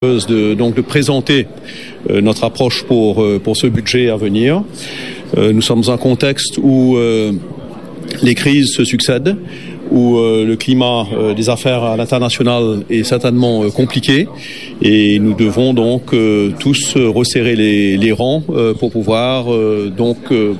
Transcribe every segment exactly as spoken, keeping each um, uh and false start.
de, donc de présenter euh, notre approche pour, euh, pour ce budget à venir. Euh, nous sommes dans un contexte où euh, les crises se succèdent, où euh, le climat euh, des affaires à l'international est certainement euh, compliqué, et nous devons donc euh, tous euh, resserrer les, les rangs euh, pour pouvoir euh, donc euh,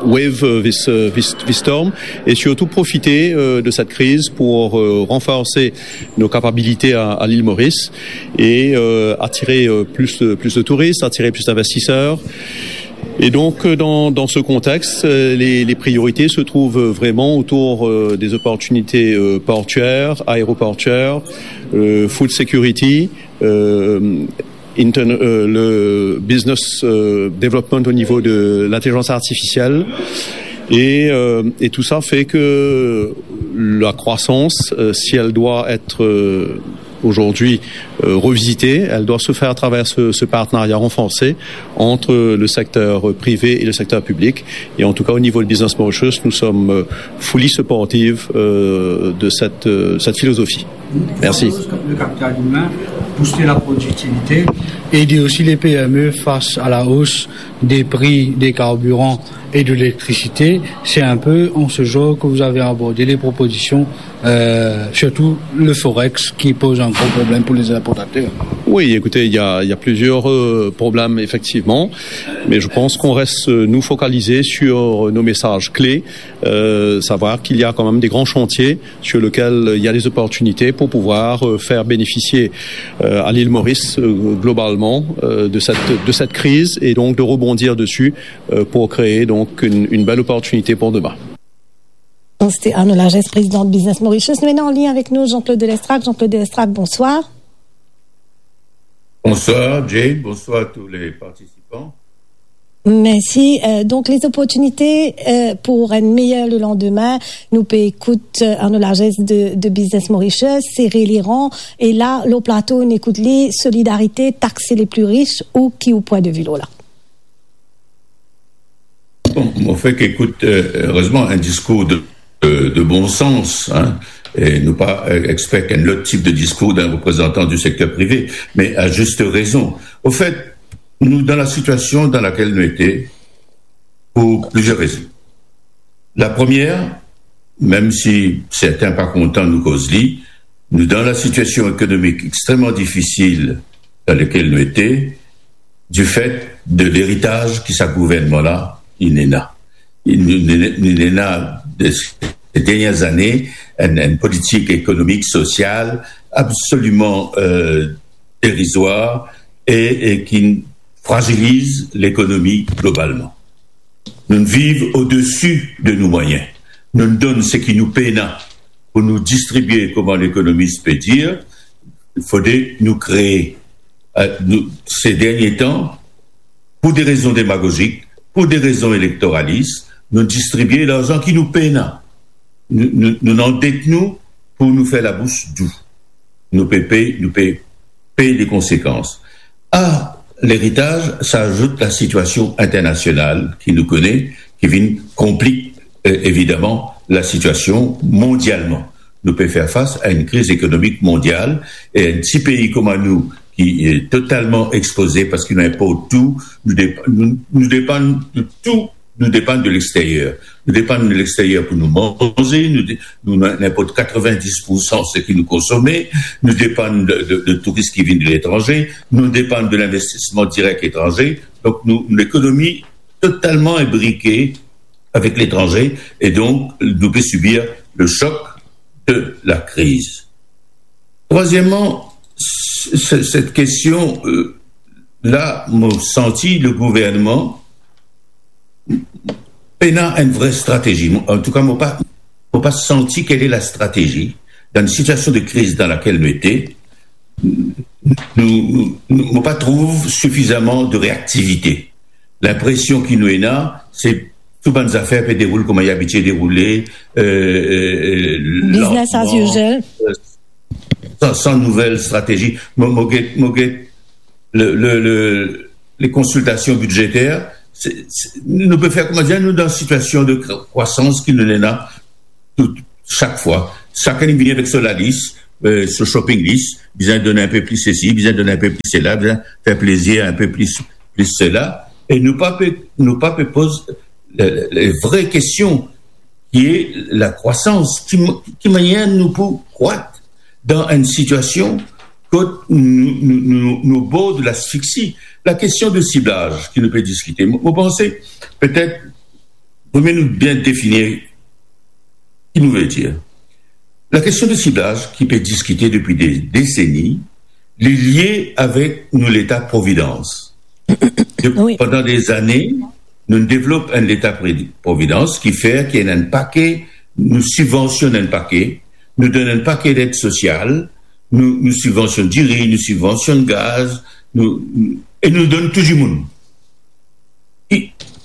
wave euh, this, euh, this, this storm, et surtout profiter euh, de cette crise pour euh, renforcer nos capacités à, à l'île Maurice et euh, attirer euh, plus, de- plus de touristes, attirer plus d'investisseurs. Et donc, euh, dans, dans ce contexte, euh, les, les priorités se trouvent vraiment autour euh, des opportunités euh, portuaires, aéroportuaires, euh, food security, euh, interne- euh, le business euh, development au niveau de l'intelligence artificielle. Et, euh, et tout ça fait que la croissance, euh, si elle doit être euh, aujourd'hui euh, revisitée, elle doit se faire à travers ce, ce partenariat renforcé entre le secteur privé et le secteur public. Et en tout cas, au niveau de Business Mauritius, nous sommes euh, fully supportive euh, de cette, euh, cette philosophie. Merci. Le capital humain, booster la productivité. Aider aussi les P M E face à la hausse des prix des carburants et de l'électricité. C'est un peu en ce genre que vous avez abordé les propositions, euh, surtout le forex qui pose un gros problème pour les importateurs. Oui, écoutez, il y a, il y a plusieurs euh, problèmes, effectivement, mais je pense qu'on reste, euh, nous, focalisés sur nos messages clés, euh, savoir qu'il y a quand même des grands chantiers sur lesquels euh, il y a des opportunités pour pouvoir euh, faire bénéficier euh, à l'île Maurice euh, globalement euh, de cette, de cette crise, et donc de rebondir dessus euh, pour créer donc une, une belle opportunité pour demain. C'était Arnaud Largesse, président de Business Mauritius. Nous avons en ligne avec nous Jean-Claude Delestrac. Jean-Claude Delestrac, bonsoir. Bonsoir, Jane. Bonsoir à tous les participants. Merci. Euh, donc, les opportunités euh, pour un meilleur le lendemain. Nou pe ekout euh, Arnaud Largesse de, de Business Mauritius, serrer les rangs. E la, lor plato, nou ekout li, solidarité, taxer les plus riches, ou ki ou pwin de vi lor la? Bon, mo fek ekout, euh, erezman, un discours de, de, de bon sens, hein, et non pas euh, expecter un autre type de discours d'un représentant du secteur privé, mais à juste raison. Au fait, nous, dans la situation dans laquelle nous étions, pour plusieurs raisons. La première, même si certains pas contents nou koz li, nou dan la situation économique extrêmement difficile dans laquelle nous étions, du fait de l'héritage que ce gouvernement-là, il en a. Il, il, il en a, de ces dernières années, une, une politique économique, sociale absolument euh, dérisoire et, et qui fragilise l'économie globalement. Nou viv odesi de nou mwayin. Nou donn seki nou pena pou nou distribie, kouma lekonomis pe dir, fode nou kree. Euh, nou, ces derniers temps, pour des raisons démagogiques, pour des raisons électoralistes, nou distribie larzan ki nou pena. Nou, nou, nou andet nou pou nou fer labous dou. Nou pe pey, nou pe pey les conséquences. À l'héritage s'ajoute la situation internationale qui nous connaît, qui vient complique euh, évidemment la situation mondialement. Nou pe fer fas a enn kriz ekonomik mondial e enn ti pei kouma nou ki est totalement exposé parce que nou inport tou, nou, dep nou, nou depann de tou, nou depann de l'extérieur. Nou depann de l'extérieur pour nou manze, nou, de, nou inport quatre-vingt-dix pour cent seki nou konsome, nou depann de, de, de touris ki vinn de letranze, nou depann de l'investisman direk etranze. Donk nou, nou lekonomi totalman inbrike avek letranze e donk nou pe sibir le choc de la crise. Troisièmement, cette question euh, là, mo santi le gouvernement pena une vraie stratégie. En tout cas, mo pa, mo pa santi quelle est la stratégie dans une situation de crise dans laquelle nous étions. Nou, nou, nou, nou pa trouv sifizaman de reaktivite. Linpresion ki nou ena, se tou bann zafer pe deroule kouma li abitie deroule. Euh, euh, Business as usual. San, san nouvel stratezi. Mo, mo get, mo get le, le, le, les consultations budgétaires, se, se, nou pe fer kouma dir nou dan sitiasion de krwasans ki nou ena tout, sak fwa. Sakenn vini avek so lalis, eh, so shopping list, bizin donn enpe plis sesi, bizin donn enpe plis sela, bizin fer plezir enpe plis, plis sela. E nou pa pe, nou pa pe poz le, le, le vre kestion, ki e lakrwasans, ki, ki manier nou pou krwat dan enn sitiasion kot nou, nou, nou, nou bord lasfiksi. Lakestion de siblaz ki nou pe diskite, mo, mo panse, petet, premie nou bien defini ki nou ve dir. Lakestion de siblaz ki pe diskite depi de deseni, li lie avek nou leta providans. De, Wi. Pandan de zane, nou devlop enn leta pre-, providans ki fer ki ena enn pake, nou sibvansionn enn pake, nou donn enn pake led sosial, nou, nou sibvansionn diri, nou sibvansionn gaz, nou, e nou donn tou dimoun. Ki,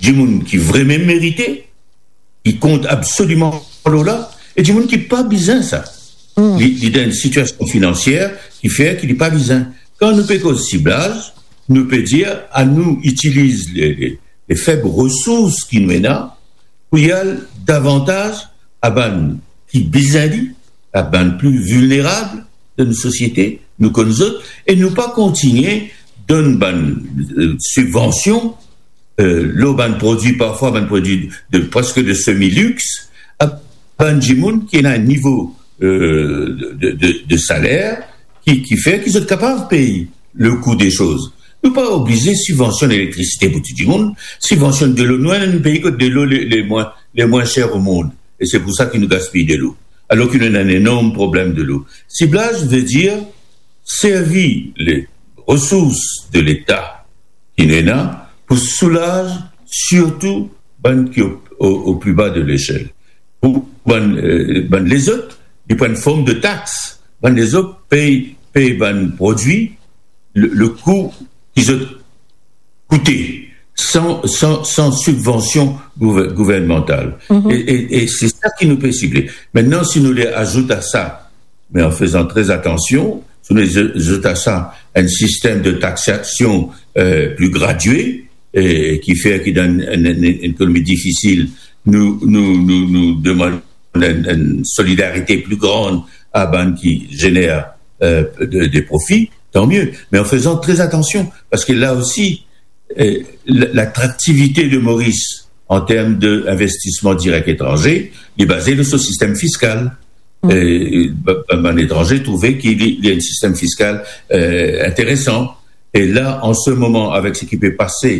dimoun ki vremem merite, ki kont absoliman lor la, e dimoun ki pa bizin sa. Li, li dan enn sitiasion finansier ki fer ki li pa bizin. Kan nou pe koz siblaz, nou pe dir, anou itiliz le, le, le feb resours ki nou ena pou al davantaz a bann ki bizin li, a bann pli vilnerab de nou sosiete, nou konn zot, e nou pa kontigne donn bann, eh, sibvansion, eh, lor bann prodwi, parfwa bann prodwi de, preske de semi-lix, a bann dimoun ki ena enn nivo, eh, de, de, de saler ki, ki fer ki zot kapav pey le kou de soz. Nou pa oblize sibvansionn elektrisite pou tou dimoun, sibvansionn delo. Nou ena enn pei kot delo le, le mwin, le mwin ser o mond, e se pou sa ki nou gaspiy delo, alor ki nou ena enn enorm problem delo. Siblaz ve dir servi le resours de Leta ki nou ena pou soulaz sirtou bann ki o, o, o pli ba de lesel. Pou bann, eh, bann lezot, li pran form de tax. Bann lezot pey, pey bann prodwi le, le kou ki zot koute, san, san, san sibvansion gouver-, gouvernmantal. E, e, e se sa ki nou pe sible. Aster, si nou le azout a sa, me an fezan tre atansion, si nou le azout a sa enn sistem de taxasion, eh, pli gradie, e ki fer ki dan enn, enn, enn ekonomi difisil, nou, nou, nou, nou demann enn, enn solidarite pli gran a bann ki zener, eh, de, de profi, tan mie. Me an fezan tre atansion, parski la osi, eh, l-, latraktivite de Moris an term de investisman direk etranze, li baze lor so sistem fiskal. E, ba-, ba-, bann etranze trouve ki li, li enn sistem fiskal, eh, interesan. E la, an se moman, avek seki pe pase,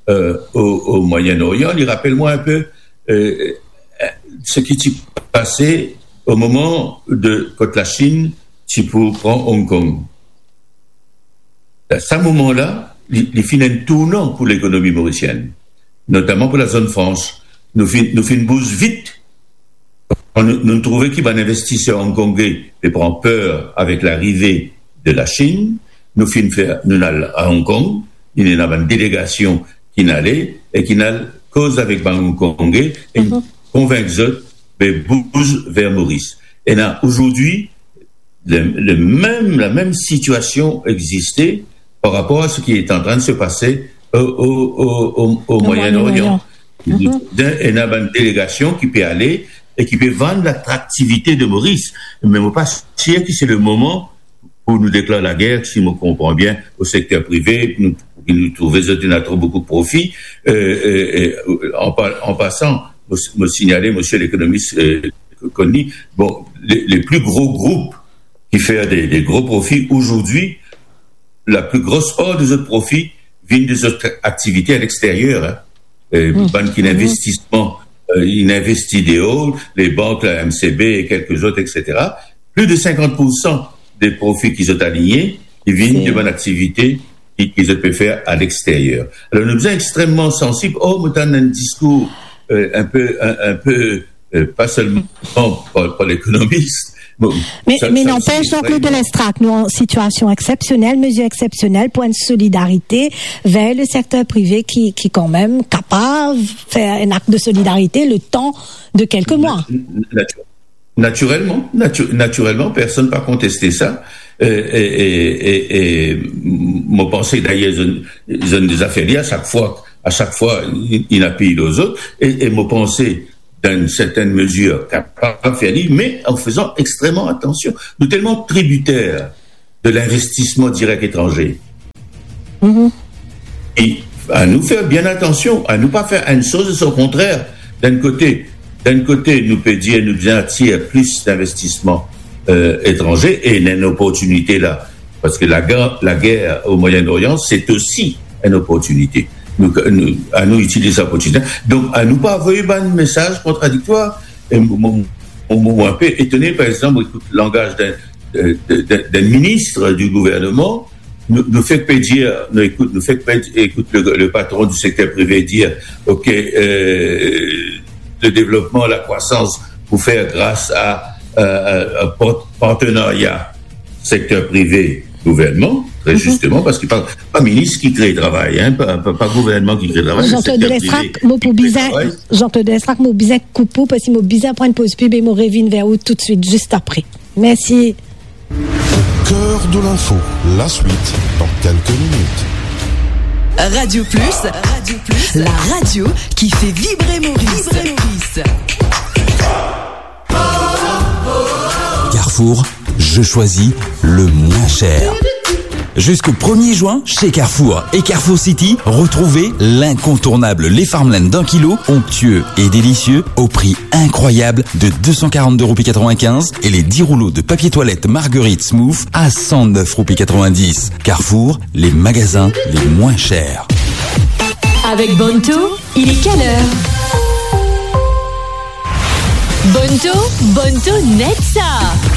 eh, o, o Moyen-Orient, li rapel mwa enpe, eh, eh, seki ti pase o moman de, kot Lasinn ti pou pran Hong Kong. Sa moman la, li, li finn enn tournan pou lekonomi morisienn, notaman pou lazone frans. Nou finn, nou finn bouz vit. Nou, nou trouve ki bann investiser Hongkonge pe pran per avek larive de Lasinn. Nou finn fer, nou al a Hong Kong, ena bann delegasion ki'nn ale e ki'nn al koz avek bann Hongkonge e konvink zot pe bouz ver Moris. Ena azordi, le, le mem, lamem sitiasion existe par rapor a seki est en train de se passer au, au, au, au, au Moyen-Orient. Moyen-Orient. Ena bann delegasion ki pe ale e ki pe vann latraktivite de Moris. Me mo pa sir ki se le moman pou nou deklar lager, si mo konpran bien, o sekter prive, nou, pou nou trouve zot ena tro boukou profi. Eh, eh, eh, an pa-, an pasan, mo, mo signale, misie lekonomis, eh, konn li, bon, le, le pli gro group ki fer de, de gro profi azordi, la pli gro par de zot profi vinn de zot aktivite a lexteryer, hein. Eh, bann ki ena investisman, eh, inn investi deor, le bank, la M C B e kelke zot, et cetera. Plis de sinkant pour san de profi ki zot aligne, li vinn de bann aktivite ki, ki zot pe fer a lexteryer. Alor, nou bizin extrememan sansib. Oh, mo tann enn diskour, eh, enpe, enn, enpe, eh, pa selman par, par lekonomis. Bon, Me, sa, me sa nanpes, osi, Jean-Claude Lestrac, nou an sitiasion exsepsionel, mezir exsepsionel pou enn solidarite ver le sekter prive ki, ki kanmem kapav fer enn akt de solidarite le tan de kelke mwa. Natu-, natirelman, natu-, natirelman, personn pa konteste sa. E, e, e, e, e, m-, mo panse, dayer, zot, zot deza fer li, a sak fwa, a sak fwa, li, li ena pli lor zot. E, e mo panse, dan enn sertenn mezir, kapav fer li, me an fezan extrememan atansion. Nou telman tribiter de linvestisman direk etranze. E anou fer bien atansion, anou pa fer enn soz e son kontrer. Dan enn kote, dan enn kote, nou pe dir nou bizin atir plis linvestisman, eh, etranze e ena enn oportinite la. Parski lager, lager o Moyen-Orient, se osi enn oportinite. Nou, nou, anou itiliz sa oportinite. Donk, anou pa avoy bann mesaz kontradiktwar. E mo, mo, mo, mo inpe etone, par exanp, ekout langaz d'un, de, de, de, d'un ministre du gouvernement, nou, nou fek pe dir, nou ekout, nou fek pe ekout le, le patron du secteur privé dir, ok, eh, le devlopman, lakrwasans pou fer gras a, eh, eh, a part-, partenarya sekter prive, gouvernman, tre zisteman, parski pa, pa minis ki kre travay, hein, pa, pa, pa gouvernman ki kre travay, Jean-Claude Lestrac, mo pou bizin, travay. Jean-Claude Lestrac, mo bizin koup ou, parski mo bizin pran poz pib e mo revinn ver ou toutswit, zis apre. Mersi. Cœur de l'info, la suite dans quelques minutes. Radio Plus, Radio Plus, la radio qui fait vibrer Maurice. Vibrer Maurice. Carrefour, je choisis le moins cher. Jusqu'au premier juin, chez Carrefour et Carrefour City, retrouvez l'incontournable Les Farmland d'un kilo, onctueux et délicieux, au prix incroyable de deux cent quarante-deux roupies quatre-vingt-quinze, et les dix rouleaux de papier toilette Marguerite Smooth à cent neuf roupies quatre-vingt-dix. Carrefour, les magasins les moins chers. Avec Bonto, il est quelle heure ? Bonto, Bonto net sa.